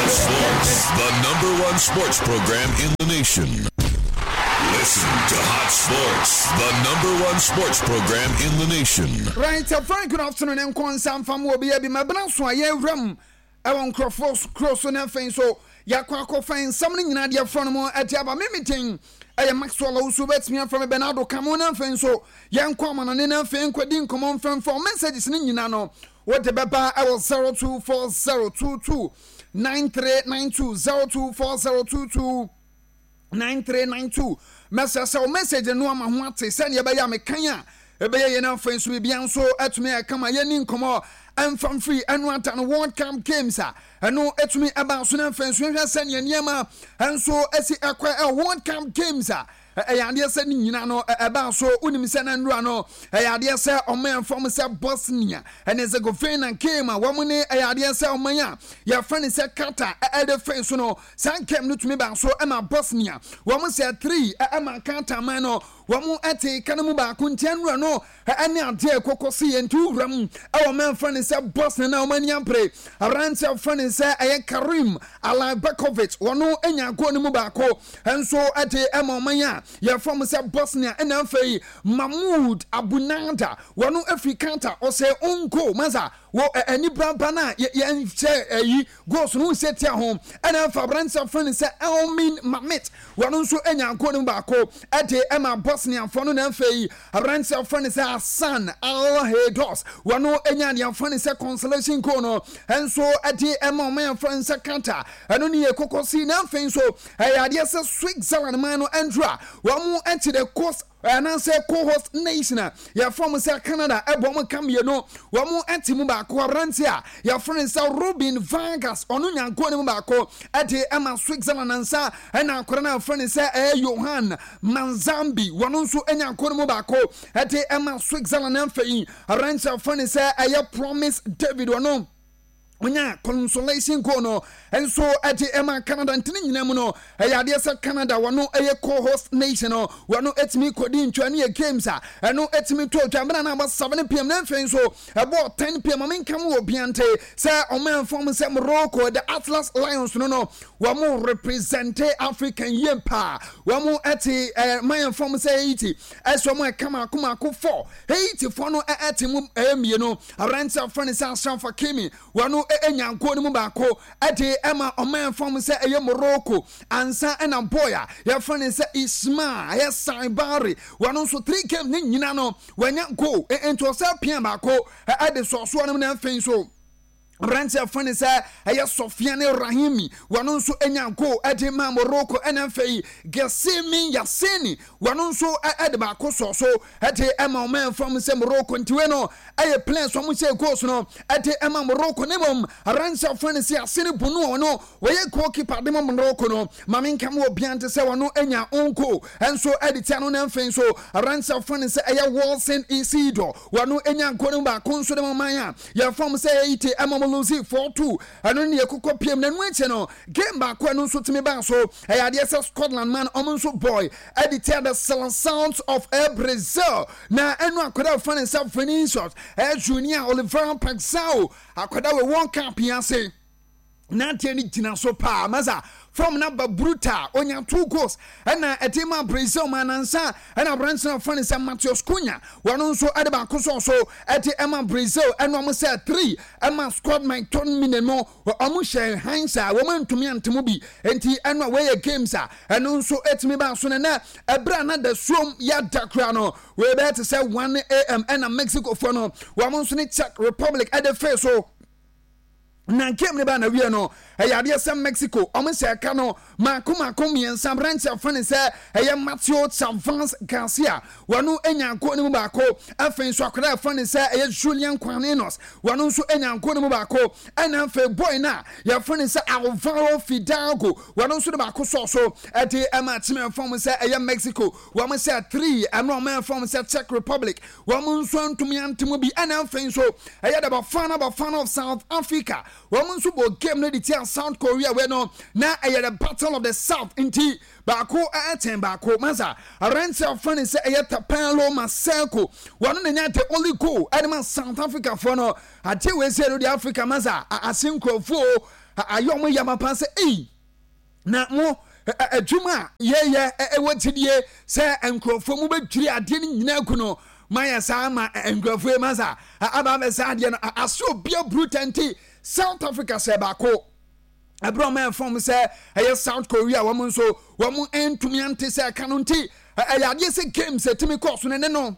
Hot Sports, the number one sports program in the nation. Listen to Hot Sports, the number one sports program in the nation. Right, a very good afternoon and nkonsa mfa mu obi abi mabena so a yɛwura mu ɛwɔ nkurɔfoɔ kuro so na afei nso yɛakɔ akɔfa nsɛm no nyinaa deɛ frɔ no mu ɛde aba me meeting ɛyɛ Maxwell Owusu bɛtumi afrɛ me Bernardo Kamo na afei nso yɛnkɔ amanɔne na afei nkɔdi nkɔmmɔ mfɛmfɛ messages no nyinaa no Wode bɛba ɛwɔ 024022 9392 024022 9392. Mɛsrɛ sɛ wo message no ama ho ate sɛdeɛ ɛbɛyɛ a mekan a ɛbɛyɛ yɛn afei nso biribia nso atumi ayɛ kama. Yɛni nkɔmmɔ ɛmfa mfiri ɛno ada no World Cup Games a ɛno ɛtumi ɛba so no afei nso yɛhwɛ sɛdeɛ nneɛma nso ɛsi ɛkɔ ɛwɔ World Cup Games a Ɛyɛ adeɛ sɛ ne nyina no ɛbaa so. Wonim sɛ na nnura no ɛyɛ adeɛ sɛ ɔman fam sɛ Bosnia ɛne Herzegovina game a wɔn ne ɛyɛ adeɛ sɛ ɔman a yɛfrɛ no sɛ Qatar ɛde fɛn so no, saa game no tumi baa so ɛma Bosnia wɔn sɛ 3 ɛma Qatar man no wɔn ɛte ka no mu baako. Nti nnura no ɛne adeɛ ɛkɔkɔ si yɛn nti wura mu ɛwɔ man fɛ no sɛ Bosnia na wɔn ani abere. Aberanteɛ fɛ no sɛ ɛyɛ Karim Alajbekovic, wɔn anya goal no mu baako nso de ɛma ɔman a yɛfrɛ mo sɛ Bosnia. Ɛna afei Mahmoud Abunada, wɔn afiri Qatar, ɔsɛ own goal masa wɔ ani braba no a yɛnhyɛ ɛyi goals no nhyɛ tia ho. Ɛna afei aberanteɛ fɛ no sɛ Elmin Mamit, wɔn nso anya goal no mu baako de ɛma Bosniafoɔ no. Na afei aberanteɛ fɛ no sɛ Hassan Al-Haydos, wɔn anya deɛ fɛ no sɛ consolation goal no nso de ɛma ɔman a fɛ no sɛ Qatar. Ɛno ne yɛ kɔkɔ si. Na afei nso ɛyɛ adeɛ sɛ Switzerland man no ɛndura wɔn ɛte the coast anaasɛ co-host nation a yɛfrɛ wɔn sɛ Canada ɛbɔ wɔn ka mmienu, wɔn ɛte mu baako. Aberante a yɛfrɛ no sɛ Robin Vargas, ɔno nyanko no mu baako ɛde ɛma Switzerland ansa ɛna akora no a yɛfrɛ no sɛ ɛyɛ Johan Manzambi, wɔn nso nyanko no mu baako ɛde ɛma Switzerland. Afei aberante a yɛfrɛ no sɛ ɛyɛ Promise David, ɔno onya consolation goal no nso ɛde ɛma Canada. Ntini nyinaa mu no ɛyɛ adeɛ sɛ Canada wɔno ɛyɛ co-host nation no, wɔno ɛtumi kɔdi ntwa ne yɛ games a ɛno ɛtumi to dwa mmerɛ no abɔ 7 p.m. na afei nso ɛbɔ 10 p.m. Ame nka mu wɔ biante sɛ ɔman fam sɛ Morocco, the Atlas Lions no wɔn represent African yie paa. Wɔn ɛte man fam sɛ Haiti ɛsɛ wɔn ɛka mako mako 4. Haiti foɔ no ɛte mu ɛyɛ mmienu. Aberanteɛ afɔ ne sɛ Achraf Hakimi, wɔn ɛnya nko no mu baako ɛde ɛma ɔman fam sɛ ɛyɛ Morocco ansa ɛna boy a yɛfrɛ ne sɛ Ismail ɛyɛ Saibari, wɔn nso three game ne nyina no wɔanya goal nti ɔsɛ pia baako ɛde sɔɔsoɔ no mu. Na afei nso aberanteɛ afɔ ne sɛ ɛyɛ Sofiane Rahimi, wɔn nso anya goal ɛde ma Morocco. Ɛna afei Gessimi Yassini, wɔn nso ɛde baako sɔ so ɛde ɛma ɔman fam sɛ Morocco. Ntiwe no ɛyɛ players wɔn hyɛ goals no ɛde ɛma Morocco. Ne mom aberanteɛ afɔ ne sɛ Yassine Bounou, ɔno wɔyɛ goalkeeper de ma Morocco no, maame nkam wɔ bia nte sɛ wɔn anya onko ɛnso ɛde tia no. Na afei nso aberanteɛ afɔ ne sɛ ɛyɛ Wilson Isidore, wɔn anya goal no baako nso de ma ɔman a yɛfam sɛ Haiti ɛma mo lose 4-2. Ɛno ne yɛkokɔ piem. Na ɛno akyi no game baako ɛno nso tumi baa so. Ɛyɛ adeɛ sɛ Scotland man ɔmo nso boy ɛde tia the Seleção of Air Brazil. Na ɛno akwadaa fa ne nsa Vinicius ɛyɛ Junior Oliveira Paxao, akwadaa wɔ World Cup yi ase nanteɛ no gyina so paa masa fam na ba brutal, onya two goals ɛna ɛde ma Brazil ma nansa. Ɛna aberante no afa ne sɛ Matheus Cunha, wɔn nso ɛde baako sɔɔ so ɛde ɛma Brazil. Ɛna wɔn sɛ three ɛma Scott McTominay no, wɔn hyɛ hansa a wɔn antumi ante mu bi. Nti ɛno a wɔyɛ games a ɛno nso ɛtumi ba so no na ɛberɛ a na da suom yɛada kora no wɔyɛ bɛyɛ te sɛ 1 a.m. ɛna Mexico foɔ no wɔn nso ne Czech Republic ɛde fee so. Na game ne ba na wie no ɛyɛ adeɛ sɛ Mexico ɔmo hyɛ ɛka no mako mako mmiɛnsa. Aberante afa ne sɛ ɛyɛ Mateo Chavans Garcia, wɔno anya nko ne mu baako. Afei nso akwadaa afa ne sɛ ɛyɛ Julian Quanenos, wɔno nso anya nko ne mu baako. Ɛna afei boy no a yɛfa ne sɛ Alvaro Fidalgo, wɔno nso de baako sɔɔ so ɛde ɛma kyimɛ fam sɛ ɛyɛ Mexico. Wɔn sɛ three ɛno ɔmo fam sɛ Czech Republic, wɔn nso ntumi ante mu bi. Ɛna afei nso ɛyɛ the Bafana Bafana of South Africa, wɔn nso bɔ game no de tia South Korea. Wei no na ɛyɛ the Battle of the South, nti baako ɛkyɛn baako masa. Aberanteɛ ɔfa ne sɛ ɛyɛ Thapelo Maseko, wɔn na nya the only goal ɛde ma South Africa foɔ no. Adeɛ wei sɛ ɛno de Africa masa ase nkurɔfoɔ. Ayɛ wɔn ya mapa sɛ ei na mo adwuma a yɛyɛ ɛwɔ gyidie sɛ nkurɔfoɔ mu bɛdwiri adeɛ no nyinaa gu no mayɛ saa ma nkurɔfoɔ yi ma sa aba abɛsa adeɛ no ase obi aburu tɛnti. South Africa sɛ baako ɛberɛ ɔma ɛfam sɛ ɛyɛ South Korea, wɔn nso wɔn ntumi ante sɛ ɛka no, nti ɛyɛ adeɛ sɛ games ɛtumi kɔɔ so no ne no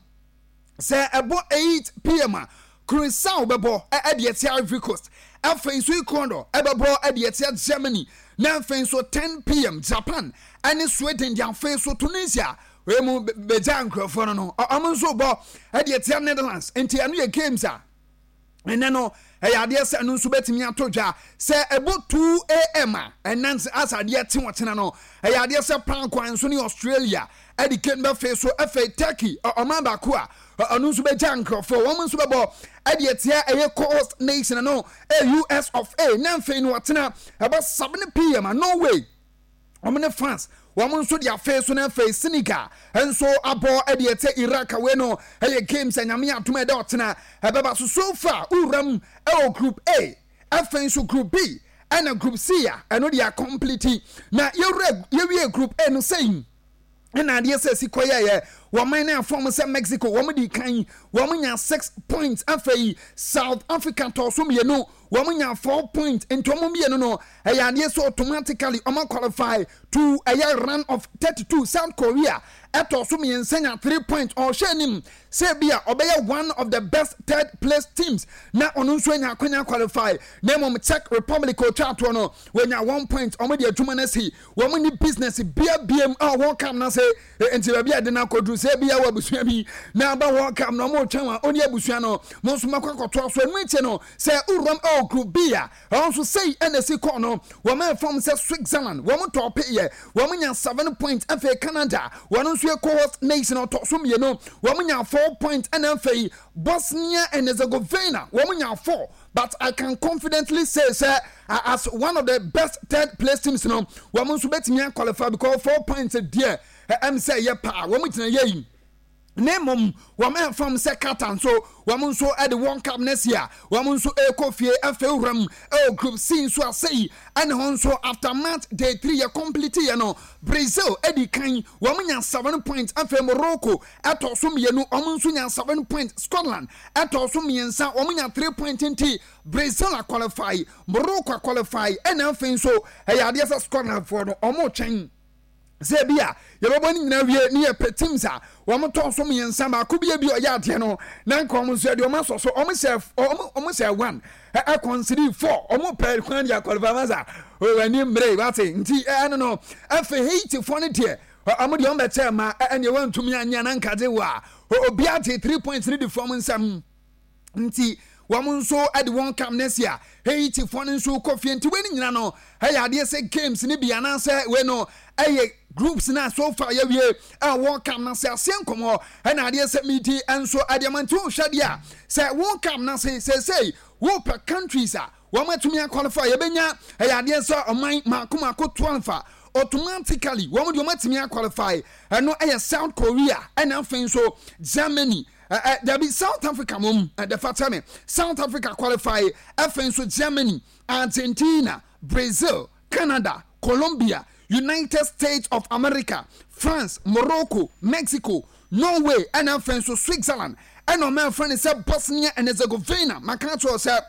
sɛ ɛbɔ 8 p.m. a, Curacao bɛbɔ ɛde ɛtia Ivory Coast. Afei nso Ecuador ɛbɛbɔ ɛde ɛtia Germany, na afei nso 10 p.m. Japan ɛne Sweden de. Afei nso Tunisia wei mu bɛgya nkurɔfoɔ no, ɔmo nso bɔ ɛde ɛtia Netherlands. Nti ɛno yɛ games a ɛnɛ no ɛyɛ adeɛ sɛ ɛno nso bɛtumi ato dwa sɛ ɛbɔ 2 a.m. a ɛnɛ nso asa adeɛ te wɔkyena no, ɛyɛ adeɛ sɛ Paraguay nso ne Australia ɛde game bɛfei so. Afei Turkey, ɔman baako a ɔno nso bɛgya nkurɔfoɔ, wɔn nso bɛbɔ ɛde ɛtia ɛyɛ host nation no, US of A. Na afei no ɔtena ɛbɔ 7 p.m. a, Norway wɔn ne France wɔn nso de afei so. Na afei Senegal nso abɔ ɛde ɛtɛ Iraq. Wei no ɛyɛ games a Nyame adom ɛdɛ ɔtena ɛbɛba so. So far wuram ɛwɔ Group A, afei nso Group B ɛna Group C a ɛno de acomplete. Na yɛwura yɛwie Group A no sɛyin ɛna adeɛ sɛ si kɔyɛyɛ wɔn no afɔm sɛ Mexico wɔn di kan, wɔn nya 6 points. Afei South Africa tɔ so mmienu, wɔn nya 4 points. Nti wɔn mmienu no ɛyɛ adeɛ sɛ automatically wɔn qualify to ɛyɛ round of 32. South Korea ɛtɔ so mmiɛnsa nya 3 points. Ɔhwɛ anim sɛ bi a ɔbɛyɛ one of the best third place teams na ɔno nso anya akwanya qualify. Na mmom Czech Republic otwa atoɔ no, wɔnya 1 point. Wɔn de adwuma no asi wɔn ni business bia biem a wɔn kam na sɛ nti baabi a de no akɔduru sɛ bia wɔ abusua bi na aba wɔn kam na wɔn retwɛn wɔn ɔne abusua no mo nso mɛkɔ akɔtoa so. Ɛno akyi no sɛ wuram ɛwɔ Group B a, ɛwɔ nso sɛyi ɛna esi kɔɔ no, wɔn ɛfam sɛ Switzerland wɔn tɔɔ peyɛ, wɔn nya 7 points. Afei Canada, wɔn nso yɛ co-host nation, ɔtɔ so mmienu, wɔn nya 4 points. Ɛna afei Bosnia and Herzegovina wɔn nya 4, but I can confidently say sɛ as one of the best third place teams no, wɔn nso bɛtumi qualify because 4 points deɛ ɛm sɛ yɛ paa wɔn gyina yɛ yi. Na mmom wɔn ɛfam sɛ Qatar nso, wɔn nso de wɔn cup no asi a wɔn nso ɛrekɔ fie. Afei wuram ɛwɔ Group C nso asɛyi ɛne hɔ nso after match day 3 yɛ complete yɛ no, Brazil ɛdi kan, wɔn nya 7 points. Afei Morocco ɛtɔ so mmienu, wɔn nso nya 7 points. Scotland ɛtɔ so mmiɛnsa, wɔn nya 3 points. Nti Brazil aqualify, Morocco aqualify, ɛna afei nso ɛyɛ adeɛ sɛ Scotland foɔ no wɔn retwɛn sɛ bi a yɛbɛbɔ no nyinaa wie ne yɛpɛ teams a wɔn tɔn so mmiɛnsa baako bi ebi ɔyɛ adeɛ no na nka wɔn nso yɛde wɔn asɔ so. Wɔn hyɛ 1 ɛkɔnsiri 4, wɔn pɛ kwan de aqualify masa wɔn ani mmere wate. Nti ɛno no afei Haiti foɔ no deɛ, wɔn deɛ wɔn bɛkyɛ ma ɛnea wɔntumi anya na nkagye wɔ a obi ate 3 points ne di fam nsɛm. Nti wɔn nso de wɔn kam no asi a Haitifoɔ no nso kɔ fie. Nti wei no nyina no ɛyɛ adeɛ sɛ games no bi anaasɛ wei no ɛyɛ groups na so far yɛwie a wɔn kam no ase aseɛ nkɔmmɔ ɛna adeɛ sɛ medi nso ɛdeɛ ma. Nti wohwɛ deɛ a sɛ wɔn kam no ase seesei wopɛ countries a wɔn atumi aqualify, yɛbɛnya ɛyɛ adeɛ sɛ ɔman mako mako 12 a automatically wɔn deɛ wɔn atumi aqualify. Ɛno ɛyɛ South Korea, ɛna afei nso Germany, ɛ dabi, South Africa mom ɛdɛfa kyɛ me, South Africa qualify, afei nso Germany, Argentina, Brazil, Canada, Colombia, United States of America, France, Morocco, Mexico, Norway, ɛna afei nso Switzerland, ɛna ɔmo ɛfrɛ no sɛ Bosnia and Herzegovina. Maka kyerɛ sɛ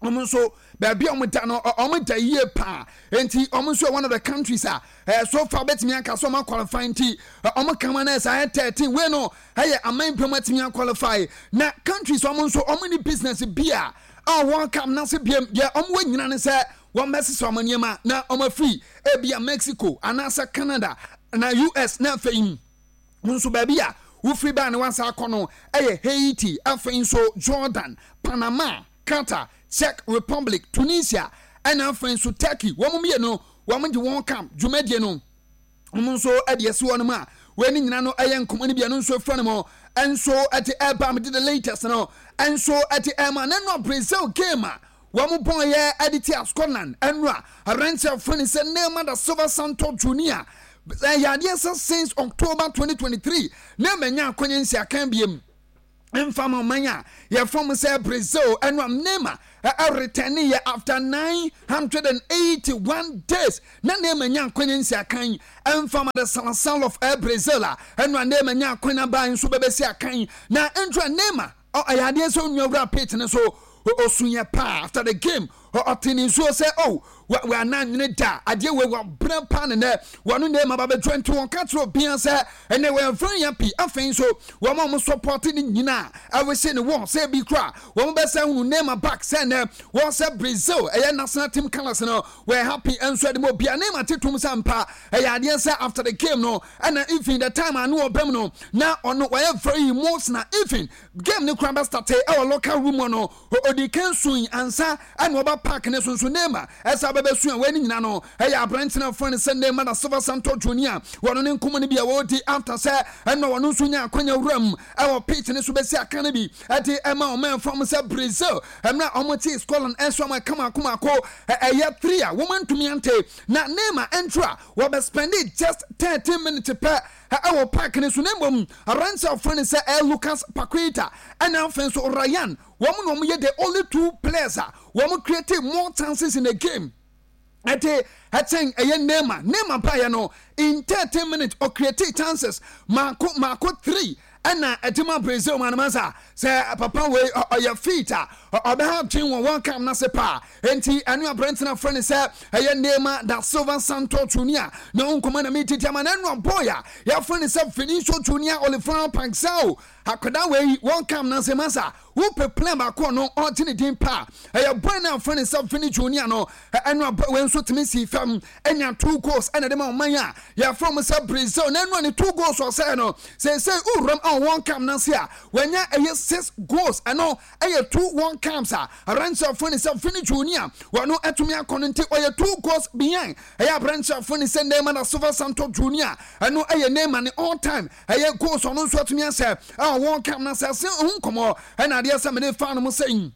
wɔn nso baabi a wɔn da no, wɔn da yie paa. Nti wɔn nso yɛ one of the countries a so far bɛtumi aka so wɔn aqualify. Nti wɔn kama no ɛsɛ ayɛ 13. Wei no ɛyɛ aman mpɛm atumi aqualify. Na countries wɔn nso wɔn ni business bi a wɔn kam n'ase biem deɛ wɔn wɔ nyina ne sɛ wɔn bɛsesa wɔn nneɛma na wɔn afiri ebi a Mexico anaasɛ Canada na US. Na afei nso baabi a wofiri baa ne wansa akɔ no ɛyɛ Haiti, afei nso Jordan, Panama, Qatar, Czech Republic, Tunisia, ɛna afei nso Turkey. Wɔn mmienu wɔn de wɔn kam dwumadie no wɔn nso de asi wɔn mu a wɔn ani nyinaa no ɛyɛ nkɔmɔ no bi. Ɛno nso efura no mu nso ɛde ɛba mu de the latest no nso ɛde ɛma. Na ɛno Brazil game a wɔn bɔn yɛ ɛde tia Scotland, ɛno a aberanteɛ afɔ ne sɛ Neymar da Silva Santos Junior, ɛyɛ adeɛ sɛ since October 2023 na ɛmɛnya akɔnyɛ nsi akan biem. Mfa ma ɔman a yɛfrɛ mo sɛ Brazil ɛno a Neymar ɛretɛne yɛ after 981 days na Neymar nya akwanya nsi akan. Ɛmfa ma the Seleção of Brazil a ɛno a Neymar nya akwanya baa nso bɛbɛsi akan na ɛnto a Neymar ɔyɛ adeɛ sɛ onua wura pitch ne so osunyɛ paa. After the game, ɔte ne nsuo sɛ, oh, wɔana nwene da adeɛ wei wɔbrɛ paa ne nɛ wɔno Neymar ba bɛdwa, nti wɔka kyerɛ obia sɛ ɛnɛ wɔyɛ very happy. Afei nso wɔn a wɔn support ne nyinaa ɛwese ne wɔn sɛ ebi kora wɔn bɛsɛ hunu Neymar back sɛ ɛnɛ wɔn sɛ Brazil ɛyɛ national team colours no, wɔyɛ happy nso ɛde mu obia. Neymar te tom sɛ mpa ɛyɛ adeɛ sɛ after the game no, ɛna even the time ano ɔbɛm no na ɔno wɔyɛ very emotional. Even game ne kora bɛ start ɛwɔ locker room no, odi kan sun ansa ɛna ɔba park ne so nso Neymar ɛsɛ abɛbɛ sun a wɔn nyinaa no ɛyɛ aberante no afɔ ne sɛ Neymar da Silva Santos Junior. Wɔn ne nkɔmɔ no bi a wɔredi after sɛ ɛna wɔn nso nya akwanya wura mu ɛwɔ pitch ne so bɛsi aka no bi ɛde ɛma ɔman fam sɛ Brazil ɛmɛ a wɔn te Scotland ɛnso wɔn ɛka mako mako ɛyɛ three a wɔn ntumi ante. Na Neymar ɛntro a wɔbɛ spend just 13 minutes pɛ ɛwɔ park ne so, na mmom aberante a wɔfrɛ no sɛ ɛ Lucas Paqueta ɛna afei nso Ryan, wɔn na wɔn yɛ the only two players a wɔn create more chances in the game ɛde ɛkyɛn ɛyɛ Neymar. Neymar baayɛ no, in 13 minutes ɔcreate chances mako mako three ɛna ɛde ma Brazil ma no ma sa sɛ papa wei ɔyɛ fit a ɔbɛha dwen wɔ World Cup n'ase paa. Enti ɛno aberante no afrɛ no sɛ ɛyɛ Neymar da Silva Santos Junior na nkɔmɔ na metiti ama na ɛno boy a yɛafrɛ no sɛ Vinicius Junior Oliveira Paixao. Akwadaa wei, World Cup n'ase masa wopɛ plan baako no ɔgye ne din paa, ɛyɛ boy no afrɛ no sɛ Vini Junior no. Ɛno abɔ wei nso tumi si fam ɛnya two goals ɛna de ma ɔman a yɛafrɛ mo sɛ Brazil. Na ɛno a ne two goals ɔsɛɛ no, seesei wuram a World Cup n'ase a wɔanya ɛyɛ six goals. Ɛno ɛyɛ two World Cups a aberanteɛ afrɛ no sɛ Vini Junior wɔno ɛtumi akɔ no, nti ɔyɛ two goals behind ɛyɛ aberanteɛ afrɛ no sɛ Neymar da Silva Santos Junior. Ɛno ɛyɛ Neymar ne all time ɛyɛ goals ɔno nso atumi asɛ ɛwɔ World Cup na sɛ ɛsɛ ho nkɔmɔ ɛna adeɛ sɛ mede fa no mo sɛ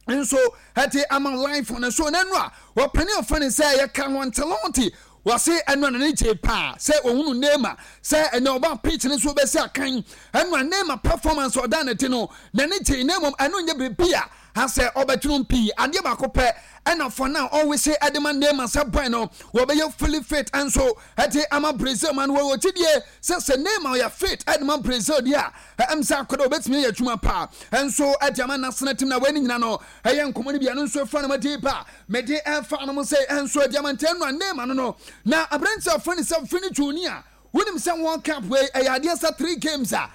nso ɛte ama life no so. N'anu a wɔpɛne ɔfa ne sɛ ɛyɛ Carlo Ancelotti, wɔse ɛno a n'ani gye paa sɛ ohunu Neymar sɛ ɛnɛ ɔba pitch ne so bɛsi akan. Ɛno a Neymar performance ɔda ne ti no n'ani gye, na mmom ɛno nyɛ biribi a asɛ ɔbɛtwene pii. Adeɛ baako pɛ ɛna for now ɔwese ɛde ma Neymar sɛ boy no wɔbɛyɛ fully fit nso ɛde ama Brazil man. Wɔwɔ gyidie sɛ Neymar ɔyɛ fit ɛde ma Brazil deɛ a, ɛm sɛ akɔda wɔbɛtumi ayɛ adwuma paa ɛnso ɛde ama national team. Na wɔn nyina no ɛyɛ nkɔmɔ no bi ɛno nso ɛfa no ma de ba mɛde ɛfa no mo sɛ ɛnso ɛde ama ntɛn no a Neymar no. Na aberante a ɔfrɛ no sɛ Vini Junior, wonim sɛ World Cup wei ɛyɛ adeɛ sɛ three games a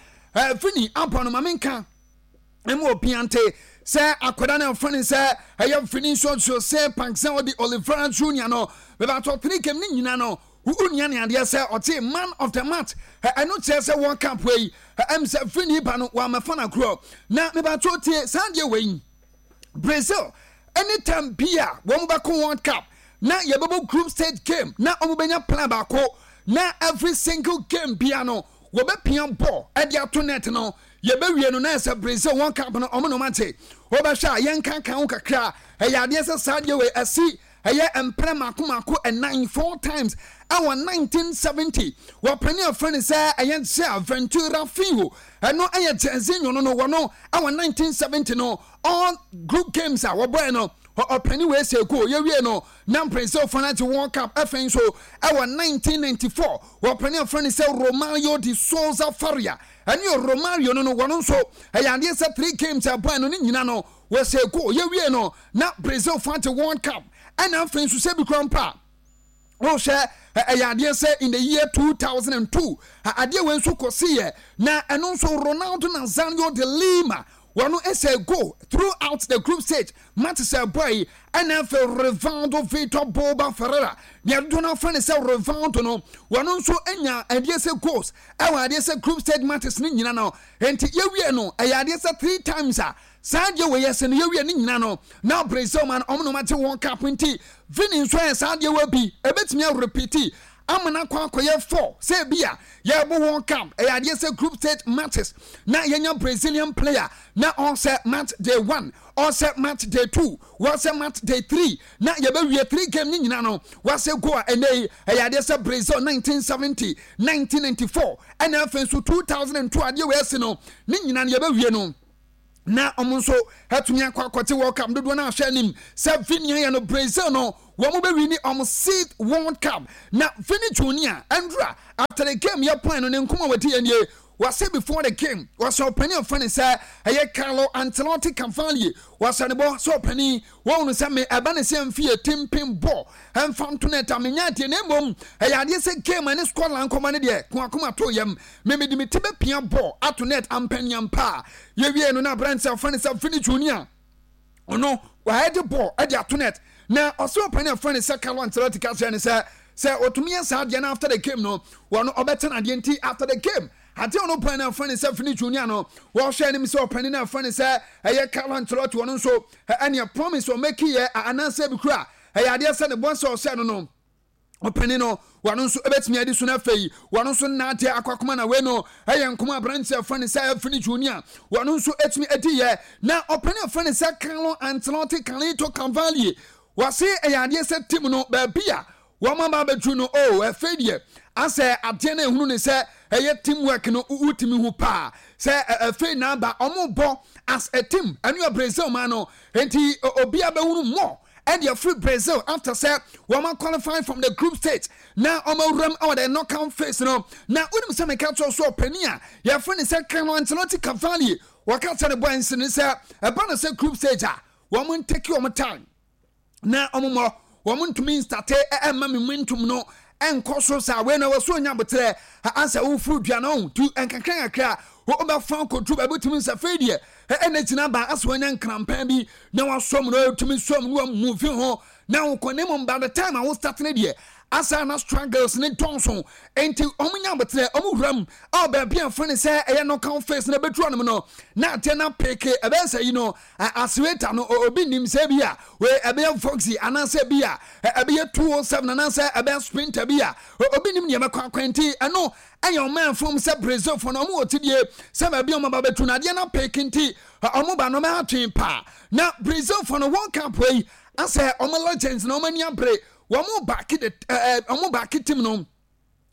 Vini abɔ no, ma menka ɛmu obiante sɛ akwadaa no ɛmfa ne sɛ ɛyɛ Vinicius Jose Paixao de Oliveira Junior no bɛbɛatɔ three game ne nyina no wonya ne adeɛ sɛ ɔte man of the match. Ɛno kyerɛ sɛ World Cup wei ɛm sɛ Vini ba no wɔamɛfa no agorɔ. Na mebatɔ tie saa deɛ wei, Brazil anytime bi a wɔn bɛkɔ World Cup na yɛbɛbɔ group stage game na wɔn bɛnya plan baako na every single game bia no wɔbɛpia ball ɛde ato net no, yɛbɛwie no na ɛsɛ Brazil World Cup no ɔmo na ɔmo ate. Wɔbɛhwɛ a yɛnkankan ho kakra, ɛyɛ adeɛ sɛ saa deɛ wei ɛsi ɛyɛ mprɛ mako mako ɛnan, four times. Ɛwɔ 1970, wɔpɛni afrɛ no sɛ ɛyɛ Jair Ventura Filho, ɛno ɛyɛ Jairzinho no wɔno ɛwɔ 1970 no, all group games a wɔbɔɛ no ɔpɛni wei sɛ goal, yɛwie no na Brazil fana agye World Cup. Ɛfɛn nso ɛwɔ 1994, wɔpɛni afrɛ no sɛ Romario de Souza Faria, ɛne Romario no wɔno nso ɛyɛ adeɛ sɛ three games a ɛbɔɛ no ne nyina no wɔsɛ goal, yɛwie no na Brazil fa agye World Cup. Ɛna afei nso sɛ bi kora mpa wohwɛ, ɛyɛ adeɛ sɛ in the year 2002 adeɛ wei nso kɔsi yɛ na ɛno nso Ronaldo Nazario de Lima wɔno ɛsɛ goal throughout the group stage match sɛ boy. Ɛna afei Rivaldo Vitor Boba Ferreira, deɛ dodo no afrɛ no sɛ Rivaldo no, wɔno nso anya adeɛ sɛ goals ɛwɔ adeɛ sɛ group stage matches ne nyina no. Nti yɛwie no ɛyɛ adeɛ sɛ three times a saa deɛ wɔ yɛ sɛ no yɛwie ne nyina no na Brazil man ɔmo na ɔmo agye World Cup. Nti Vini nso yɛ saa deɛ wɔ bi ebetumi arepeat. Ama no akɔ akɔyɛ 4 sɛ ebi a yɛrebɔ World Cup, ɛyɛ adeɛ sɛ group stage matches na yɛnya Brazilian player na ɔsɛ match day 1, ɔsɛ match day 2, wɔsɛ match day 3, na yɛbɛwie 3 game ne nyinaa no wɔasɛ goal a ɛnɛ yi ɛyɛ adeɛ sɛ Brazil 1970, 1994 ɛna afei nso 2002 adeɛ wɔ asi no ne nyinaa no yɛbɛwie no na wɔn nso atumi akɔ akɔte World Cup. Dodoɔ no ahwɛ anim sɛ Vini ayɛ no, Brazil no wɔn bɛwi ne wɔn sixth World Cup. Na Vini Junior ɛndura after the game yɛ point no ne nkɔmɔ a wɔdi yɛ nie. Wɔsɛ before the game wɔsɛ ɔpanin ɔfɛ ne sɛ ɛyɛ Carlo Ancelotti Cavalier, wɔsɛ ne bɔ sɛ ɔpanin wɔn no sɛ me ɛba ne sɛ mfi yɛ timpin bɔ ɛnfa nto ne ta menya adeɛ, na mmom ɛyɛ adeɛ sɛ game ɛne Scotland nkɔmɔ ne deɛ koakoma to yam me mede me ti bɛpia bɔ ato net ampaniampa a yɛwie no. Na aberante a ɔfɛ ne sɛ Vini Junior ɔno wayɛ de bɔɔl ɛde ato net na ɔsɛ ɔpanin a ɔfɛ ne sɛ Carlo Ancelotti ka kyerɛ ne sɛ ɔtumi yɛ saa adeɛ no after the game no wɔn ɔbɛtɛn adeɛ. Nti after the game adeɛ ɔno panin a ɔfɛ ne sɛ Vini Junior no wɔhwɛ anim sɛ ɔpanin a ɔfɛ ne sɛ ɛyɛ Carlo Ancelotti ɔno nso ɛneɛ promise ɔmɛki yɛ anaasɛ bi kura ɛyɛ adeɛ sɛ ne bɔ nsɛ ɔsɛ no ɔpanin no wɔn nso ɛbɛtumi adi so. No afei wɔn nso nnaate akɔ akoma na wei no ɛyɛ nkɔmɔ aberanteɛ afa ne sɛ Vini Junior wɔn nso ɛtumi adi yɛ. Na ɔpanin afa ne sɛ Carlo Ancelotti Carlito Cavalier wɔse ɛyɛ adeɛ sɛ team no baabi a wɔn aba abɛduru no o ɛfɛ deɛ asɛ adeɛ no ehunu ne sɛ ɛyɛ team work no, wotumi hu paa sɛ ɛfɛ n'aba wɔn bɔ as a team. Ɛno yɛ Brazil man no nti obi abɛhunu more ɛde afiri Brazil after sɛ wɔn qualify from the group stage na wɔn awuram ɛwɔ the knockout phase no. Na wonim sɛ meka kyerɛ so ɔpanin a yɛfrɛ ne sɛ Carlo Ancelotti Cavalier wɔka kyerɛ ne boy nsi ne sɛ ɛba no sɛ group stage a wɔn ntake wɔn time na wɔn mmɔ, wɔn ntumi nstate ɛmma momentum no ɛnkɔ so saa. Wei na wɔso onya abotrɛ ansa wofuru dua no tu nkakra nkakra wobɛfa kɔduru baabi wotumi nsa fei deɛ ɛna gyina ba asɛ wanya nkrampan bi na wasɔm no ɛtumi sɔm no wamuvi ho na wokɔ ne mmom by the time a wo start ne deɛ asa na struggles ne dɔnso. Nti ɔmo nya abotrɛ, ɔmo wura mu a baabi a fɛn sɛ ɛyɛ knockout phase na ɛbɛduru ɔnom no na adeɛ na peke ɛbɛyɛ sɛ yi no accelerator no obi nim sɛ bi a wei ɛbɛyɛ Voxy anaasɛ bi a ɛbɛyɛ 207 anaasɛ ɛbɛyɛ Sprinter bi a obi nim deɛ ɛbɛkɔ akwan. Nti ɛno ɛyɛ ɔman fam sɛ Brazil fo no ɔmo wɔ tidie sɛ baabi a ɔmo aba bɛtu no adeɛ na peke nti ɔmo ba no ɔmo atwe paa. Na Brazil fo no World Cup wei asɛ ɔmo legends na ɔmo ani abere, wɔn baaki de ɛɛ ɔmo baaki team no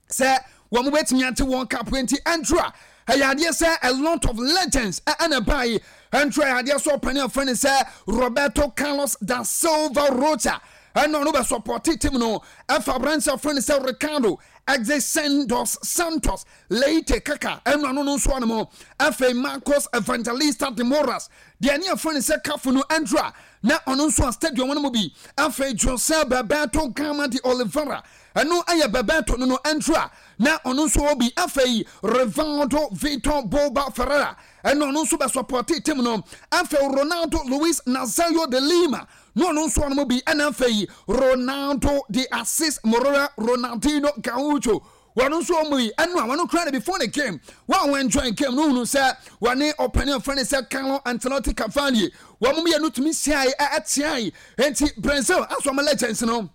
sɛ wɔn bɛtumi ate wɔn cup. Nti ɛntoro a ɛyɛ adeɛ sɛ a lot of legends ɛna baa yi. Ɛntoro ɛyɛ adeɛ sɛ ɔpanin afɛn ne sɛ Roberto Carlos da Silva Rocha ɛna ɔno bɛ support team no, ɛfa aberanteɛ afɛn ne sɛ Ricardo Exercen dos Santos Leite Kaka ɛna ɔno no nso ɔno afei Marcos Evangelista de Moras deɛ ne afɛn ne sɛ Cafu no ɛntoro a na ɔno nso a stadium no mu bi. Afei Jose Bebeto Gama de Oliveira ɛno ɛyɛ Bebeto no ɛntoro a na ɔno nso wɔ bi. Afei Rivaldo Vitor Boba Ferreira ɛno ɔno nso bɛ support team no. Afei Ronaldo Luis Nazario de Lima na ɔno nso ɔno mu bi. Ɛna afei Ronaldo de Assis Moreira Ronaldinho Gaucho wɔn nso wɔn yi ɛno a wɔn kura no before the game wɔn a wɔn enjoy game no hunu sɛ wɔne ɔpanin afɛn sɛ Carlo Ancelotti Cavalier wɔn mmienu tumi siae ɛteae. Nti Brazil aso wɔn legends no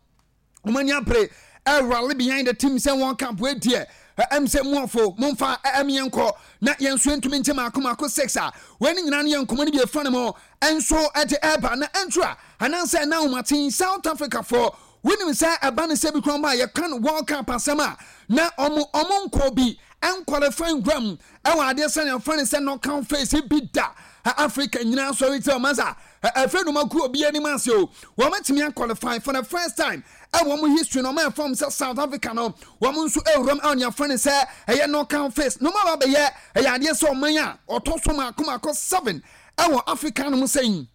wɔn ani abere ɛrally behind the team sɛ wɔn camp wei deɛ ɛm sɛ muafo momfa ɛm yɛn kɔ na yɛn nso yɛntumi nkyɛ maako maako six a. Wei ne nyinaa no yɛ nkɔmɔ no bi efa ne mu ɛnso ɛde ɛɛba na ɛntura anaasɛ ɛna ahomaten South Africa foɔ. Wonim sɛ ɛba ne sɛ bi kwan ba a yɛka no World Cup asɛm a na ɔmo nkɔ bi ɛnqualify nwura ɛwɔ adeɛ sɛ yɛmfa ne sɛ knockout phase bi da. Africa nyinaa sɔre ti ɔma sa ɛfɛ no maku obi anim ase o, wɔn atumi aqualify for the first time ɛwɔ wɔn history na wɔn ɛfam sɛ South Africa no wɔn nso ɛwuram ɛwɔ nea fɛn sɛ ɛyɛ knockout phase na wɔn aba bɛyɛ ɛyɛ adeɛ sɛ ɔman a ɔtɔ so mako mako seven ɛwɔ Africa no mu sɛn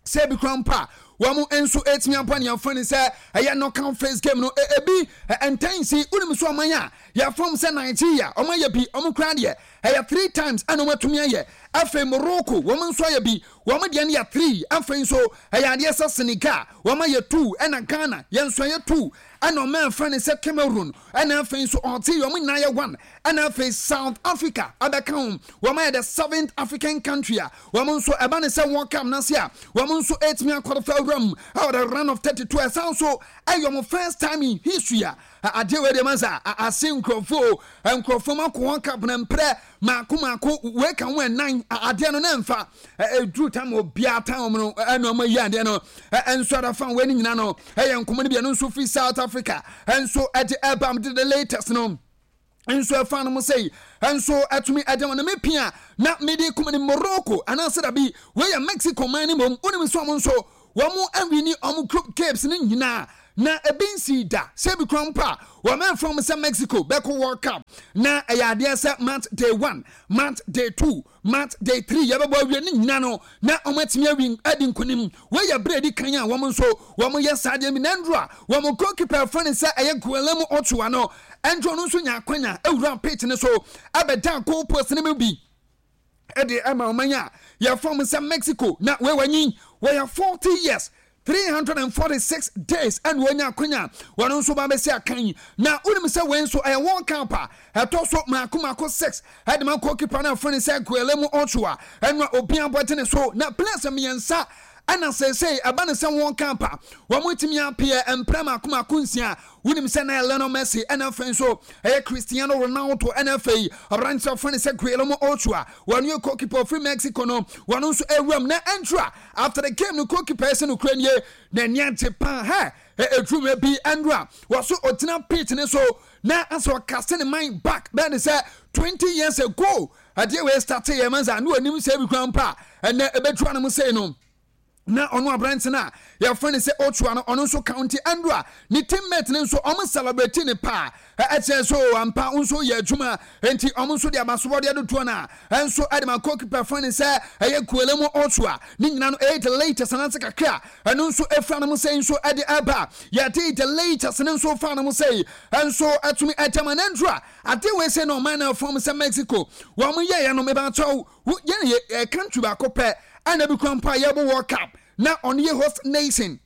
sɛ ebi kura mpa wɔn nso etumi abɔ nea fɛn sɛ ɛyɛ knockout phase game no. Ebi ntɛnsi wonim so ɔman a yɛfam sɛ Nigeria wɔn ayɛ bi, wɔn kura deɛ ɛyɛ three times ɛna wɔn atumi ayɛ. Afei Morocco wɔn nso ayɛ bi, wɔn deɛ no yɛ 3. Afei nso ɛyɛ adeɛ sɛ Senegal wɔn ayɛ 2, ɛna Ghana yɛn nso ayɛ 2, ɛna ɔman a yɛfrɛ no sɛ Cameroon, ɛna afei nso Algeria wɔn nyinaa ayɛ 1, ɛna afei South Africa abɛka ho, wɔn ayɛ the seventh African country a wɔn nso ɛba ne sɛ World Cup no ase a wɔn nso ɛretumi akɔfa awura mu ɛwɔ the round of 32. Ɛsan nso ɛyɛ wɔn first time in history a adeɛ wei deɛ ma sɛ ase nkurɔfoɔ nkurɔfoɔ ma kɔ World Cup na mprɛ maako maako wei ka ho ɛnan adeɛ no na mfa ɛduru tam obiara tan wɔn no ɛna wɔn ayi adeɛ no ɛnso adafa wei no nyinaa no ɛyɛ nkɔmɔ no bi ɛno nso firi South Africa ɛnso ɛde ɛba de the latest no nso ɛfa no mo sɛyi nso ɛtumi ɛde wɔn me pia na mede kum ne Morocco anaasɛ dabi wei yɛ Mexico man no mmom wonim nso wɔn nso wɔn awini wɔn group games no nyinaa na ebi nsi da sɛ ebi kura mpo a wɔn ɛmfa wɔn sɛ Mexico bɛkɔ World Cup na ɛyɛ adeɛ sɛ match day 1, match day 2, match day 3 yɛbɛbɔ awie ne nyinaa no na wɔn atumi awi adi nkonim. Wei yɛ berɛ edi kan a wɔn nso wɔn yɛ saa adeɛ bi na nduro a wɔn goalkeeper fɛ ne sɛ ɛyɛ Guillermo Ochoa no nduro no nso nya akwanya ewura pitch ne so ɛbɛda goal post ne mu bi ɛde ɛma ɔman a yɛfrɛ wɔn sɛ Mexico. Na wei wanyin, wɔyɛ 40 years 346 days ɛna wɔnya akwanya wɔn nso ba bɛsi akan. Na wonim sɛ wei nso ɛyɛ World Cup a ɛtɔ so maako maako 6 ɛde ma goalkeeper no afrɛ ne sɛ Guillermo Ochoa ɛno a obi abɔgye ne so na players mmiɛnsa ɛna seesei ɛba ne sɛ World Cup a wɔn tumi apeɛ mprɛ maako maako 6. Wonim sɛ na Lionel Messi ɛna afei nso ɛyɛ Cristiano Ronaldo ɛna afei aberanteɛ afrɛ ne sɛ Guillermo Ochoa wɔn yɛ goalkeeper ofiri Mexico no wɔn nso ɛwuram na ɛntra after the game no goalkeeper ɛsɛ no kura nie na ani agye paa hɛ ɛduru bi ɛnra wɔso ɔgyina pitch ne so na asɛ ɔkase ne man back bɛɛ ne sɛ 20 years ago adeɛ wei start yɛ mansa ne wɔnim sɛ ebi kura mpa ɛnɛ ɛbɛduru anam sei no na ɔno aberante no a yɛfrɛ no sɛ Ochoa no ɔno nso county andrew a ne teammate no nso ɔmo celebrate ne paa ɛkyerɛ so ampa nso yɛ adwuma nti ɔmo nso de abasobɔdeɛ dodoɔ no a ɛnso ɛde ma goalkeeper frɛ no sɛ ɛyɛ Guillermo Ochoa ne nyina no ɛyɛ the latest anase kakra ɛno nso ɛfira no mo sɛ nso ɛde ɛba yɛde the latest no nso fa no mo sɛ ɛnso ɛtumi ɛgyama no andrew a ade wei sɛ na ɔman no afam sɛ Mexico wɔn yɛyɛ no mebakyɛw yɛn yɛ country baako pɛ ɛna bi kura mpo a yɛbɔ World Cup na ɔno yɛ host nation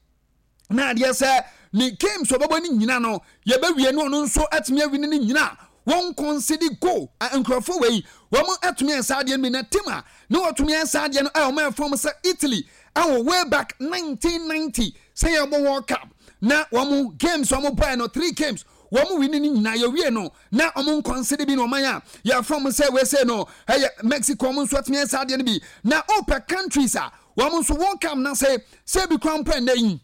na adeɛ sɛ ne games ɔbɛbɔ ne nyina no yɛbɛwie no ɔno nso atumi awi ne nyina wɔn concede goal. Nkurɔfoɔ wei wɔn atumi ayɛ saa adeɛ no bi na team a ne wɔtumi ayɛ saa adeɛ no a wɔn ɛfɔm sɛ Italy ɛwɔ way back 1990 sɛ yɛbɔ World Cup na wɔn games wɔn bɔɛ no 3 games wɔn wi ne nyinaa yɛwie no na wɔn nkɔnsede bi na ɔman a yɛfrɛ wɔn sɛ wese no ɛyɛ Mexico wɔn nso atumi ayɛ saa adeɛ no bi. Na ɔpɛ countries a wɔn nso wɔn kam na sɛ bi kwan pɛ nnɛ yi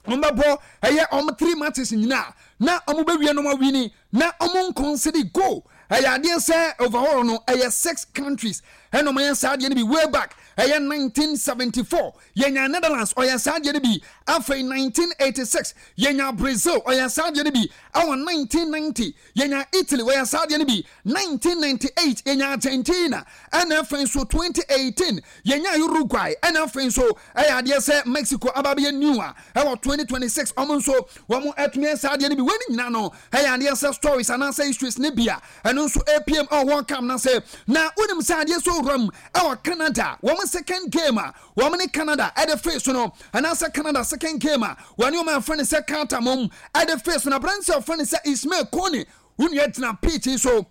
wɔn bɛbɔ ɛyɛ wɔn 3 matches nyinaa na wɔn bɛwie no wɔn awini na wɔn nkɔnsede goal ɛyɛ adeɛ sɛ overall no ɛyɛ 6 countries ɛna wɔn ayɛ saa adeɛ no bi. Way back ɛyɛ 1974 yɛnya Netherlands ɔyɛ saa adeɛ no bi, afei 1986 yɛnya Brazil ɔyɛ saa adeɛ no bi, ɛwɔ 1990 yɛnya Italy ɔyɛ saa adeɛ no bi, 1998 yɛnya Argentina, ɛna afei nso 2018 yɛnya Uruguay, ɛna afei nso ɛyɛ adeɛ sɛ Mexico aba bɛyɛ new a ɛwɔ 2026 ɔmo nso wɔn atumi ayɛ saa adeɛ no bi. Wɔn nyinaa no ɛyɛ adeɛ sɛ stories anaasɛ histories ne bi a ɛno nso APM ɛwɔ World Cup na sɛ na wonim sɛ adeɛ sɛ owura mu ɛwɔ Canada wɔn second game a wɔn ne Canada ɛde face no anaasɛ Canada second game a wɔne wɔn afrɛ no sɛ Qatar mom ɛde face no aberanteɛ a wɔfrɛ no sɛ Ismail Kone wo nua gyina pitch yi so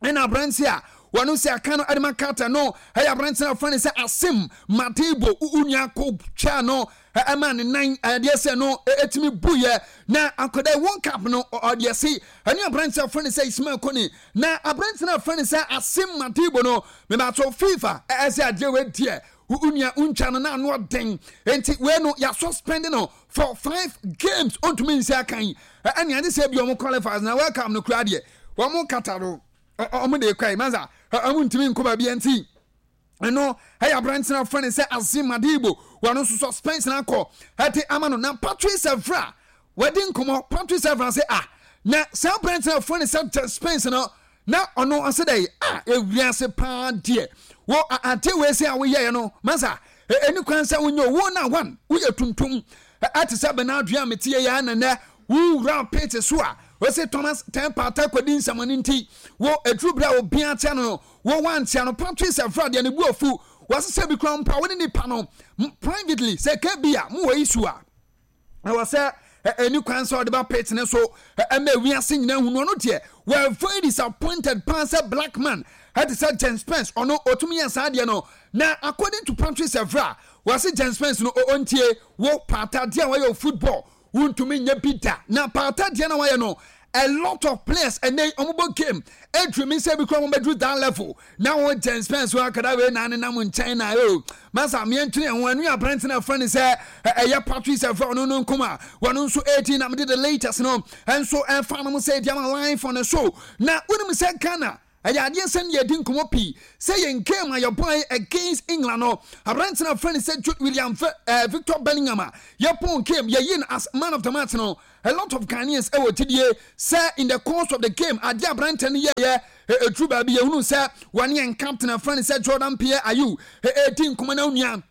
ɛna aberanteɛ a wɔn sɛ aka no ɛde ma Qatar no ɛyɛ aberanteɛ a wɔfrɛ no sɛ Asim Madibo wo nua ko twaa no ɛma ne nan ɛdeɛ sɛ no ɛtumi buyɛ na akwadaa World Cup no ɔdeɛ se ɛne aberanteɛ a wɔfrɛ no sɛ Ismail Kone na aberanteɛ a wɔfrɛ no sɛ Asim Madibo no mebato FIFA ɛsɛ adeɛ wei deɛ wo nua wontwa no na ano ɔden nti wei no yɛ suspend no for 5 games ɔntumi nsi akan ɛne ade sɛ bi ɔmo qualifiers na World Cup no kura deɛ wɔn kata no ɔmo de kɔ yi mansa ɔmo ntumi nkɔ baabi nti ɛno ɛyɛ aberanteɛ no afrɛ no sɛ Azim Madibo wɔn nso suspension akɔ ɛde ama no. Na Patrice Evra wɔde nkɔmɔ Patrice Evra sɛ ah na saa aberanteɛ no afrɛ no sɛ Jet Spence no na ɔno ɔsɛ dɛ ah ewiase paa deɛ wɔ ade wei sɛ a woyɛɛ no masa ɛni kwan sɛ wonyɛ wo na one woyɛ tuntum ɛte sɛ Bernardo a metie yɛ na nɛ wowura pitch so a Wɔse Thomas Tɛn Partey kɔdi nsɛmɔne nti wo ɛduru berɛ a obiara tea no no wo wantea no. Patrice Evra deɛ ne bo afu. Wɔse sɛ bi koraa mpo a wo ne nipa no privately sɛ ɛka bi a mowɔ issue a ɛwɔ sɛ ɛni kwan sɛ ɔde ba pitch ne so ɛma wiase nyinaa hu no. Ɔno deɛ were very disappointed paa sɛ black man ɛte sɛ James Spence ɔno ɔtumi yɛ saa deɛ no. Na according to Patrice Evra, wɔse James Spence no ɔntie wo Partey deɛ a wɔyɛ wɔ football wontumi nyɛ bi da. Na Partey deɛ na wɔayɛ no, a lot of players ɛnɛ yi wɔn bɔ game ɛduru mi sɛ bi kura wɔn bɛduru that level na wɔn James Spence wɔn akada wei na nenam nkyɛn na o masa mmiɛntwene ɛho ɛno yɛ aberante na ɛfrɛ ne sɛ ɛyɛ Patrice Evra ɔno no nkɔm a wɔn nso ɛredi na mede the latest no ɛnso ɛfa no mo sɛ ɛdi ama live on the show. Na wonim sɛ Ghana ɛyɛ adeɛ sɛ ne yɛdi nkɔmmɔ pii sɛ yɛn game a yɛbɔe against England no, aberante no a frɛ no sɛ Jude William Victor Bellingham a yɛpɔn game yɛyi no as man of the match no, a lot of Ghanaians ɛwɔ gyidie sɛ in the course of the game adeɛ aberante no yɛyɛ ɛduru baabi yɛhunu sɛ wɔne yɛn captain a frɛ no sɛ Jordan Pierre Ayew ɛdi nkɔmmɔ na onua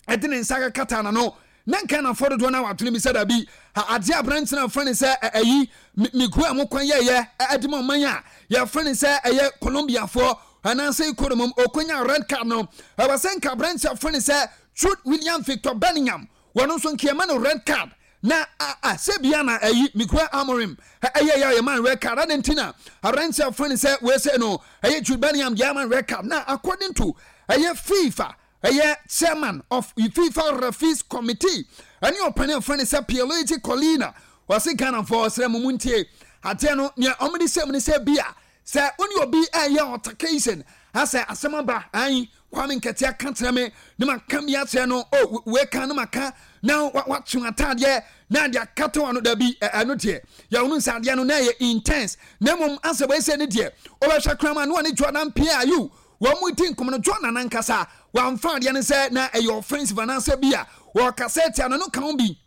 ɛde ne nsa kata n'ano na Ghanafoɔ dodoɔ no a wadwene bi sɛ dabi adeɛ aberante no afrɛ ne sɛ ɛyi migua a mokwan yɛyɛ ɛde ma ɔman a yɛfrɛ ne sɛ ɛyɛ Colombiafoɔ anaasɛ Ecuador mom ɔkɔnya red card no, ɛwɔ sɛ nka aberante afrɛ ne sɛ Jude William Victor Bellingham wɔno nso nka yɛma no red card. Na sɛ bia na ɛyi Miguel Amorim ɛyɛ yɛ ɔyɛ man red card adɛn nti na aberante afrɛ ne sɛ wei sɛ no ɛyɛ Jude Bellingham deɛ ama red card. Na according to ɛyɛ FIFA ɛyɛ chairman of FIFA Referees Committee ɛne ɔpanin a wɔfrɛ no sɛ Pierluigi Collina, ɔse Ghanafoɔ ɔsrɛ mo montie adeɛ no, nea wɔde hyɛ mu ne sɛ bi a sɛ wo ne obi ɛyɛ altercation asɛ asɛm aba ayi Kwame Nketia ka kyerɛ me ne maka bi akyerɛ no o wei ka ne maka na watwe ataadeɛ na ade akata wano dabi ɛno deɛ yɛhunu sɛ adeɛ no na ɛyɛ intense, na mmom asɛ wei sɛ ne deɛ wobɛhwɛ kraman ne wɔne Jordan Pierre Ayew wɔn mu di nkɔmɔ no, Jordan ankasa wamfa adeɛ no sɛ na ɛyɛ offensive anaasɛ bi a wɔkasa atia no no ka ho bi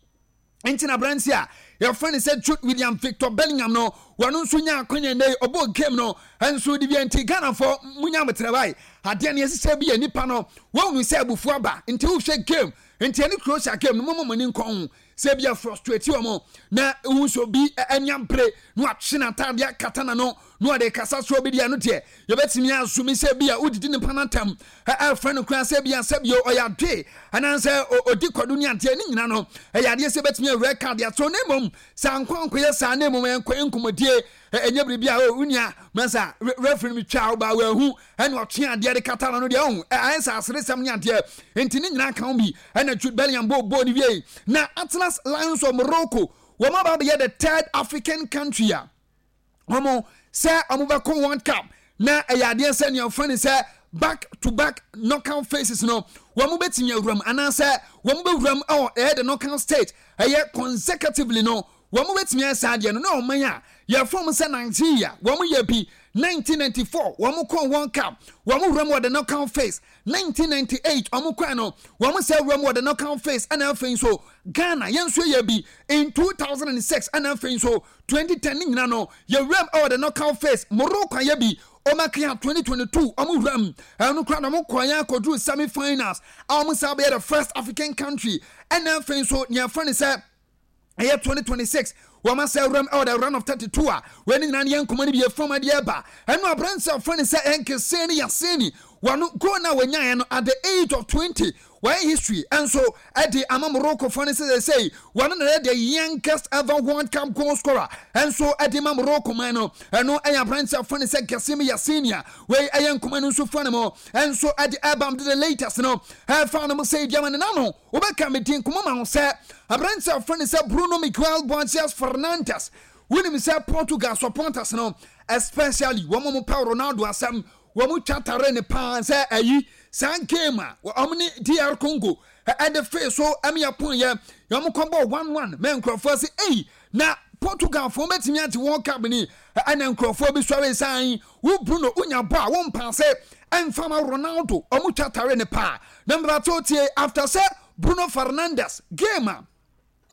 nti na aberante a yɛfrɛ no sɛ Jude William Victor Bellingham no wɔn nso nya akwanya nnɛ yi ɔbɔ game no nso de bi nti Ghanafoɔ munya abotrɛwae adeɛ no yɛsesɛ bi yɛ nipa no wɔhunu sɛ abufuo aba nti wohwɛ game nti ɛne Croatia game no moma mo ani nkɔ ho sɛ bi a frustrate wɔn na ehu sɛ obi ani abere na watwe n'ataade akata n'ano na ɔde kasa so obi deɛ no deɛ yɛbɛtumi asumi sɛ bi a wodidi nipa no atam ɛfrɛ no koraa sɛ bi a sɛ bio ɔyɛ adoe anaasɛ ɔdi kwadu ne adeɛ ne nyina no ɛyɛ adeɛ sɛ bɛtumi awura ka adeɛ so na mmom sɛ ankɔ ankɔyɛ saa na mmom ɛnkɔyɛ nkɔmmɔdie ɛnyɛ biribi a o nua masa referee no twa wo ba wahu ɛna ɔtwe adeɛ de kata no deɛ ɔho ɛyɛ sɛ aseresɛm ne adeɛ nti ne nyinaa ka ho bi ɛna Jude Bellingham bɔ bɔɔl no wie. Na Atlas Lions of Morocco wɔn aba abɛyɛ the third African country a wɔn sɛ wɔn bɛkɔ World Cup na ɛyɛ adeɛ sɛ nea wɔfrɛ no sɛ back to back knockout phases no wɔn bɛtumi awuram anaasɛ wɔn bɛwuram ɛwɔ ɛyɛ the knockout stage ɛyɛ consecutively no wɔn bɛtumi ayɛ saa adeɛ no. Na ɔman a yɛfrɛ wɔn sɛ Nigeria wɔn yɛ bi 1994 wɔn kɔɔ World Cup wɔn wuram wɔ the knockout phase, 1998 wɔn kɔɛ no wɔn sɛ wuram wɔ the knockout phase, ɛna afei nso Ghana yɛn nso yɛ bi in 2006 ɛna afei nso 2010 ne nyina no yɛwuram ɛwɔ the knockout phase. Morocco ayɛ bi ɔmakea 2022 ɔmo wuram ɛno koraa na ɔmo kɔɔ yɛn akɔduru semi finals a ɔmo san bɛyɛ the first African country, ɛna afei nso nea ɛfrɛ no sɛ ɛyɛ 2026 wɔn asɛ wuram ɛwɔ the round of 32 a wɔn nyinaa ne yɛn nkɔmɔ no bi efam adeɛ ɛba. Ɛno aberanteɛ a wɔfrɛ no sɛ ɛnkesee ne yaseni wɔn goal na wɔnyaeɛ no at the age of 20 wɔyɛ history ɛnso ɛde ama Morocco fo no sɛ sɛsɛyi wɔn na yɛ the youngest ever World Cup goal scorer ɛnso ɛde ma Morocco man no. Ɛno ɛyɛ aberanteɛ a wɔfrɛ no sɛ Gassim Yasini a wei ɛyɛ nkɔmɔ no nso fa no mu ɛnso ɛde ɛba de the latest no ɛfa no mu sɛ ɛdi ama ne nano wobɛka me din nkɔmmɔ ma wo sɛ aberante a wɔfrɛ no sɛ Bruno Miguel Borges Fernandes. Wonim sɛ Portugal supporters no especially wɔn a wɔpɛ Ronaldo asɛm wɔn twa tare ne paa sɛ ayi saa game a wɔn ne DR Congo ɛde fee so ɛme yɛ pon yɛ wɔn kɔbɔ 1-1 mɛ nkurɔfoɔ sɛ ei na Portugal foɔ bɛtumi agye World Cup ni. Ɛna nkurɔfoɔ bi sɔre san wo Bruno wonya bɔ a wo mpaase ɛmfa ma Ronaldo wɔn twa tare ne paa na mbato tie after sɛ Bruno Fernandes game a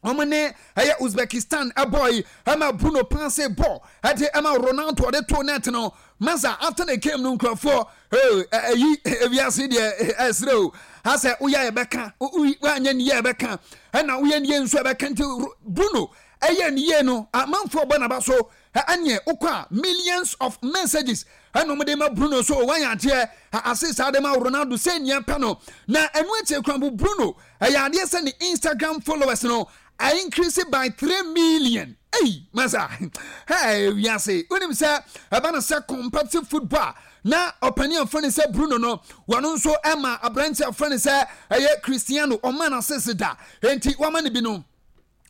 wɔn ne ɛyɛ Uzbekistan ɛbɔ yi ɛma Bruno paase bɔ ɛde ɛma Ronaldo ɔde to net no masa after the game no nkurɔfoɔ ɛyi ewiase deɛ ɛsrɛ o asɛ woyɛ ɛbɛka woanyɛ ne yɛ ɛbɛka ɛna woyɛ ne yɛ nso ɛbɛka nti Bruno. Ɛyɛ ne yie no, amanfoɔ bɔ n'aba so. Ɛneɛ wokɔ a, millions of messages ɛna wɔde ma Bruno so wayɛ adeɛ ase saa de ma Ronaldo sɛ nea pɛ no. Na ɛno akyire koraa mpo, Bruno ɛyɛ adeɛ sɛ ne Instagram followers no I increase by 3 million. Ei, masa. Hey, wiase. Wonim sɛ ɛba no sɛ competitive football na ɔpanin a ɔfrɛ no sɛ Bruno no, wɔno nso ɛma aberante a ɔfrɛ no sɛ ɛyɛ Cristiano, ɔma no asese da. Enti wama no bi no.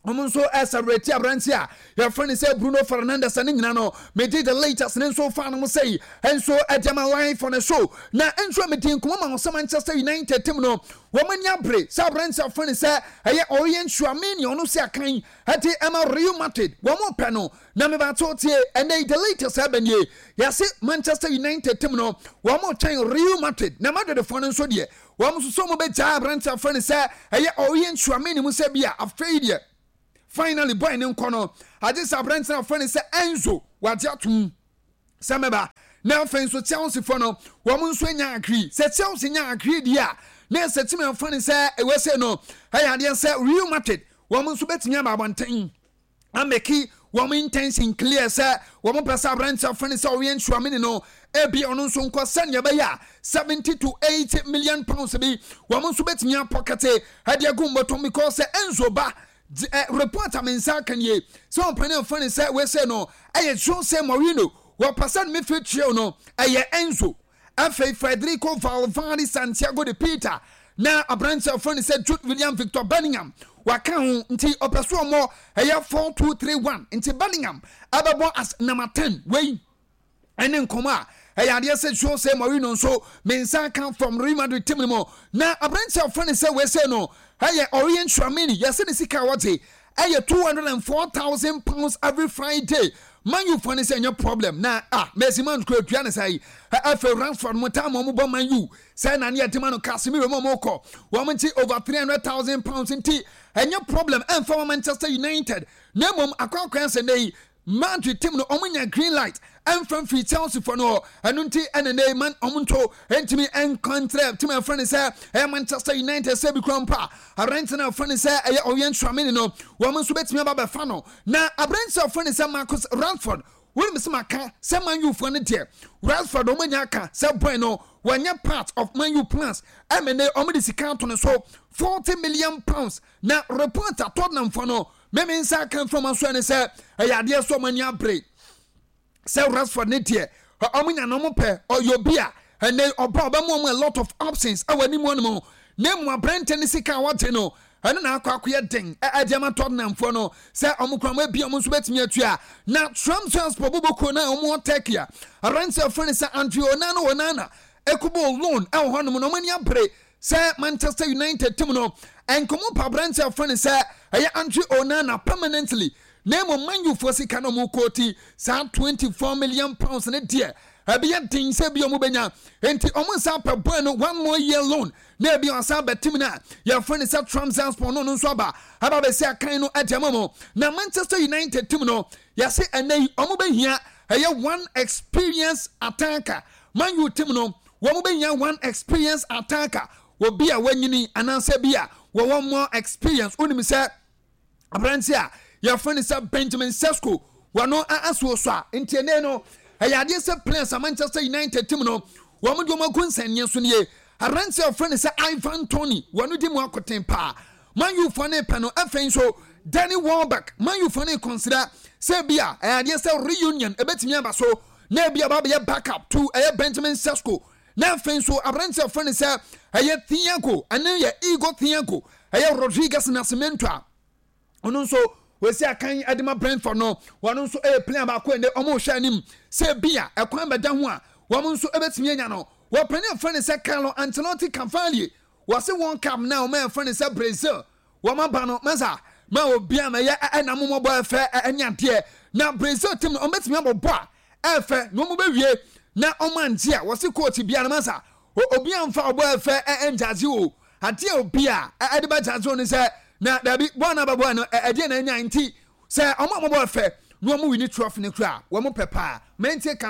Wɔn nso ɛsɛbrɛti aberante a yɛfrɛ no sɛ Bruno Fernandes ne nyina no megye the latest ne nso fa no mo sɛi nso ɛde ama live on the show. Na nso medi nkɔmmɔ ma sɛ Manchester United team no wɔn ani abere sɛ aberante a wɔfrɛ no sɛ ɛyɛ Aurelien Tchouameni, ɔno si akan ɛde ɛma Real Madrid, wɔn pɛ no. Na mebato tie ɛnɛ the latest ɛbɛ nie, yɛse Manchester United team no wɔn twɛn Real Madrid, na Madridfoɔ no nso deɛ wɔn nso so wɔn bɛgyaa aberante a wɔfrɛ no sɛ ɛyɛ Aurelien Tchouameni mu sɛ bi a afei deɛ finally boy ne nkɔ no agye sɛ aberante a wɔfrɛ no sɛ Enzo wagye atom sɛ mɛba. Na afei nso Chelsea fo no wɔn nso anya agree sɛ Chelsea nya agree deɛ a, na ɛsɛ timi afrɛ no sɛ ɛwɔ sɛ no ɛyɛ adeɛ sɛ Real Madrid wɔn nso bɛtumi aba abɔnten ameki wɔn intention clear sɛ wɔn pɛ sɛ aberante afrɛ no sɛ ɔyɛ Tchouameni no ebi ɔno nso nkɔ sɛnea ɛbɛyɛ a £70 to 80 million bi wɔn nso bɛtumi apɔkɛte ɛde agu mbɔtɔm, because sɛ Enzo ba report a me nsa aka nie sɛ ɔmpanin afrɛ no sɛ wɔsɛ no ɛyɛ Jose Mourinho, wɔpɛ sɛ no midfield trio no ɛyɛ Enzo, afei Federico Valverde, Santiago de Peter, na aberante a wɔfrɛ no sɛ Jude William, Victor Bellingham waka ho. Nti ɔpɛ so ɔmmɔ ɛyɛ 4-2-3-1, nti Bellingham ɛbɛbɔ as number 10. Wei ɛne nkɔmɔ a ɛyɛ adeɛ sɛ Jose Mourinho nso me nsa ka from Real Madrid team no mu. Na aberante a wɔfrɛ no sɛ wɔsɛ no ɛyɛ Aurelien Tchouameni, yɛsɛ ne sika a wɔgye ɛyɛ £204,000 every Friday. Man U fo ne sɛ ɛnyɛ problem na ah, Mason Mount kura tua ne sa yi. Afei Rashford mo taa ma ɔmo bɔ Man U sɛ na ne yɛde ma no, Casemiro mu ɔmo kɔ wɔn nti over £300,000, nti ɛnyɛ problem ɛnfa ma Manchester United. Na mmom akɔ akɔyɛ sɛ ne yi Madrid team no ɔmo nya green light ɛnfa mfiri Chelsea fo no hɔ. Ɛno nti ɛna ne man ɔmo nto ɛntumi ɛnkantrɛ team ɛfrɛ ne sɛ ɛyɛ Manchester United sɛ bi kura mpa aberante no ɛfrɛ ne sɛ ɛyɛ Aurelien Tchouameni no, wɔn nso bɛtumi aba bɛfa no. Na aberante a ɔfrɛ ne sɛ Marcus Rashford, wɔnim sɛ maka sɛ Man U foɔ no deɛ Rashford wɔn anya aka sɛ boy no wɔnyɛ part of Man U plans, ɛmɛ ne wɔn de sika ato no so £40 million. Na report a Tottenham foɔ no mɛmi nsa aka nfam aso ɛne sɛ ɛyɛ adeɛ so wɔn ani abere sɛ Rashford ne deɛ ɔmo nya na ɔmo pɛ. Ɔyɛ obi a ɛnɛ ɔba ɔbɛmo ɔmo a lot of options ɛwɔ anim hɔ nom, na emu aberante ne sika a wɔgye no ɛno na akɔ akɔyɛ den ɛde ama Tottenham foɔ no sɛ ɔmo kura ɔmo ebi ɔmo nso bɛtumi atua. Na Trabzonspor bobɔkuo na ɔmo wɔ Turkey a aberante a wɔfrɛ no sɛ Andre Onana ekubo loan ɛwɔ hɔnom na ɔmo ani abere sɛ Manchester United team no nkɔmɔ pa aberante a wɔfrɛ no sɛ ɛyɛ Andre Onana permanently. Na mmom Man U foɔ sika na ɔmo kɔɔti saa £24 million ne deɛ ɛbɛyɛ den sɛ bi ɔmo bɛnya, nti ɔmo nsa apɛ boy no one more year loan na ebi ɔsan bɛ team no a yɛfrɛ no sɛ Trabzonspor no, no nso aba bɛsi akan no ɛde ama mo. Na Manchester United team no yɛse ɛnɛ yi ɔmo bɛhia ɛyɛ one experience attacker. Man U team no wɔn bɛhia one experience attacker, obi a wanyini anaasɛ bi a wɔwɔ more experience. Wonim sɛ aberante a yɛfrɛ no sɛ Benjamin Sesko wɔno asoɔ so a, nti ɛnɛ no ɛyɛ adeɛ sɛ players a Manchester United team no wɔn de wɔn agu nsɛnneɛ so nie. Aberante a yɛfrɛ no sɛ Ivan Toney, wɔno di mu akoten paa, Man U foɔ ne pɛ no. Afei nso Danny Welbeck, Man U foɔ ne consider sɛ bi a ɛyɛ adeɛ sɛ reunion ɛbɛtumi aba so na ebi aba abɛyɛ backup to ɛyɛ Benjamin Sesko. Na afei nso aberante a yɛfrɛ no sɛ ɛyɛ Thiago, ɛne yɛ Igor Thiago, ɛyɛ Rodriguez Nascimento a ɔno nso wɔsi akan de ma Brentford no, wɔn nso yɛ player baako ɛnɛ wɔn rehwɛ anim sɛ bi a ɛkwan bɛda ho a wɔn nso bɛtumi anya no. Wɔpɛni afrɛ no sɛ Carlo Ancelotti Cavalier, wɔsi wɔn cup na wɔn afrɛ no sɛ Brazil wɔn aba no masa ma obi a mɛyɛ ɛna mɔmɔbɔ ɛfɛ ɛne adeɛ. Na Brazil team no wɔn bɛtumi abɔ bɔ a ɛfɛ na wɔn bɛwie na wɔn angye a, wɔsi coach bia no masa obi amfa ɔbɔ ɛfɛ ɛngyagye o, adeɛ obi a ɛde bɛgyagye o ne sɛ na dabi bɔɔl na bɛbɔ no ɛdeɛ na anya. Nti sɛ ɔmo a wɔbɔ ɛfɛ na wɔn win trophy no kura wɔn pɛ paa mɛntie ka.